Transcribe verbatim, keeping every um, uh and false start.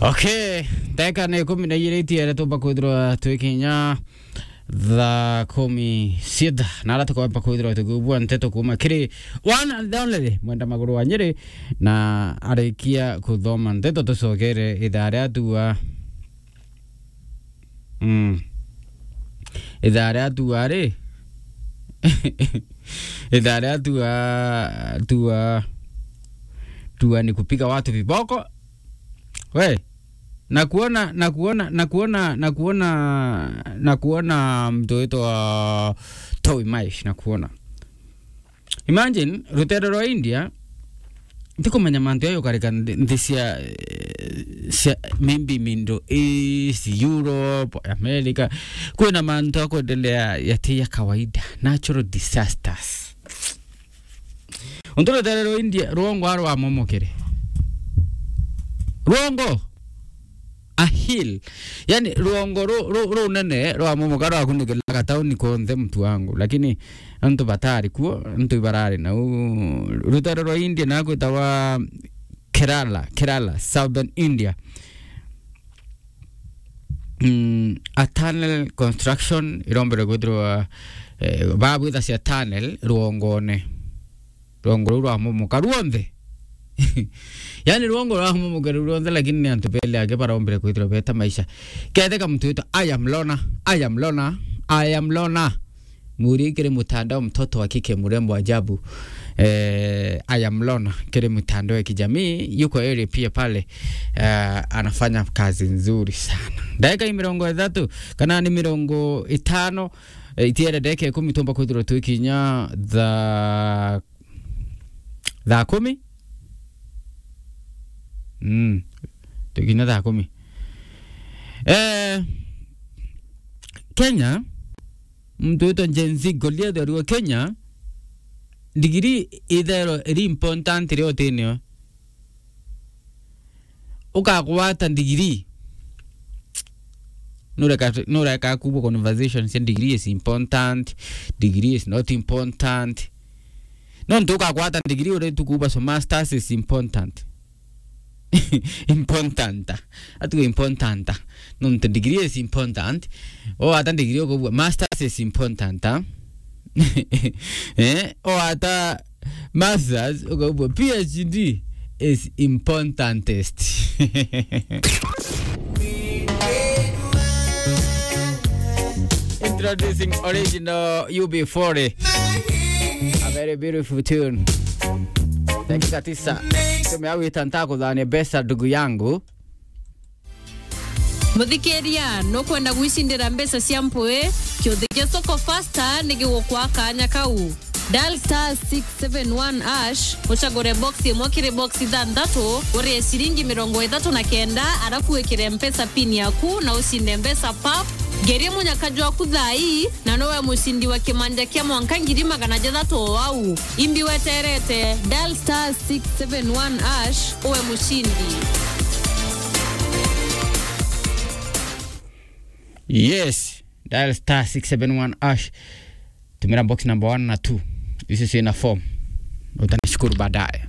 Okay, ndagika ni ikumi na igiri itiere tumba kwithirwa twi kinya thaa kumi cietha, na ara tukomba kwithirwa tukibua nteto kuma kiri one and only Mwenda Maguru wa Nyeri, na arikia kuthoma nteto tucokere ithaa ria tua. Mm. Ithaa ria tua ri. Ithaa ria tua, tua, tua ni kupiga watu viboko. We, na kuona, na kuona, na kuona, na kuona, na kuona mtu witwa Toby Maish, na kuona. Imagine, rutere rwa India, ntikumenya mantu ayo ukarika nthi, nthi cia, eh, cia maybe Middle East, Europe, America, kwina mantu akwendelea yati ya kawaida, natural disasters. Untu rutere rwa India, rwongo arwamomokere. Rwongo! A hill. Yani, rwongo ru-, ru-, runene rwamomoka rwakunikira gatauni konthe, mtu wangu. Lakini antu batari kuo, antu ibarari nau. Rutere rwa India na kwitawa Kerala, Kerala, Southern India. Mm, a tunnel construction irombere kwithirwa, eh, babwitha cia tunnel rwongone. Rwongo ruu rwamomoka rwonthe. Yani, rwongo rwamomoka ruu rwonthe, lakini ni antu beli ake barombire kwithirwa beta maisha. Ketheka mtu witwa I am Lona, I am Lona, I am Lona. Muri kiri mtandao, mtoto wa kike mrembo ajabu. Eh, I am Lona kiri mtandao ya kijamii, yuko area pia pale. Eh, anafanya kazi nzuri sana. Dakika hii mirongo ithatu, kana ni mirongo itano, eh, itiere dakika ikumi tumba kwithirwa twi kinya thaa thaa kumi? Mm. Tukinya thaa kumi. Eh, Kenya, mtu witwa Gen Z Goliath ariwa Kenya, ndigiri itherwa iri important rio tinio. Ukagwata ndigiri. Nureka, nureka kubwa conversation cia degree is important, degree is not important. No ntu ukagwata degree uri tu kuba so masters is important. Important. Atu important. No ntu degree is important. O ata degree ukubwa masters is important. Eh, o ata Masters, ukaubwa P H D is importantest. Introducing original U B forty. A very beautiful tune. Dakika tisa. Tumeawita ntakuthania besa ndugu yangu. Muthikiria, nukwenda gwicindira mbeca cia mpui? Kiuthi gia Soko Faster ni gigukwa kanya kau. Dial star six seven one hash, ucagure box imwe kiri box ithanthatu, urie ciringi mirongo ithatu na kenda, arafu wikire Mpesa pin yaku na ucinde mbeca pap. Ngeria munyaka jwaku thaa ii, na nowe mucindi wa kimanja kia mwanka ngiri magana jathatu o au. Imbi weterete, dial star six seven one hash, uwe mucindi. Yes, dial star six seven one hash. Tumira box number one na two. This is in a form. Utanishukuru baadaye.